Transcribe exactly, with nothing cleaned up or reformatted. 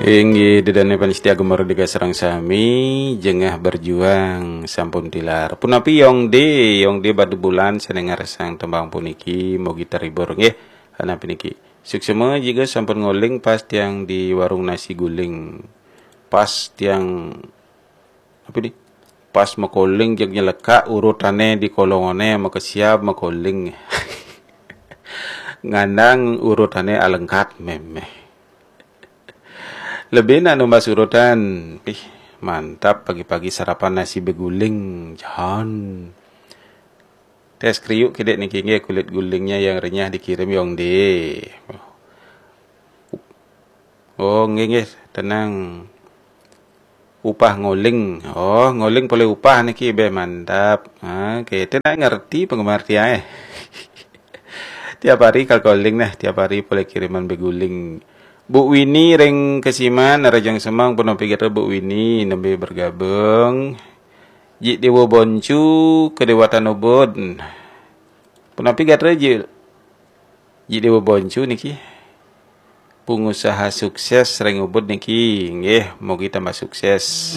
Inggih, ida dané pamiarsa Gema Merdeka sareng sami, jengah berjuang sampun tilar. Punapi Yong D, Yong D badu bulan sané ngarsang tembang puniki, mugi terhibur nggih. Ana puniki. Suksma juga sampun ngoling pas tiang di warung nasi guling. Pas tiang apa ni? Pas makoling jeg nyelekak urutané di kolongané makesiab makoling. Ngandang urutané alengkat méméh. Lebih nak numbas urutan. Ih, mantap pagi-pagi sarapan nasi beguling. Jan. Tes kriuk kedek niki nggih kulit gulingnya yang renyah dikirim Yong D. Oh, nggih nggih, tenang. Upah ngoling. Oh, ngoling boleh upah niki be mantap. Ha, kita nak ngerti penggemar tiang eh. Tiap hari kal koling nah, tiap hari boleh kiriman beguling. Bu Wini ring Kesiman, Rajang Semang, punapi gatra Bu Wini, nembe bergabung. Jik Dewa Boncu, Kedewatan Ubud. Punapi gatra Jik, Jik Dewa Boncu niki. Pengusaha sukses ring Ubud niki, nggih, mugi tambah sukses.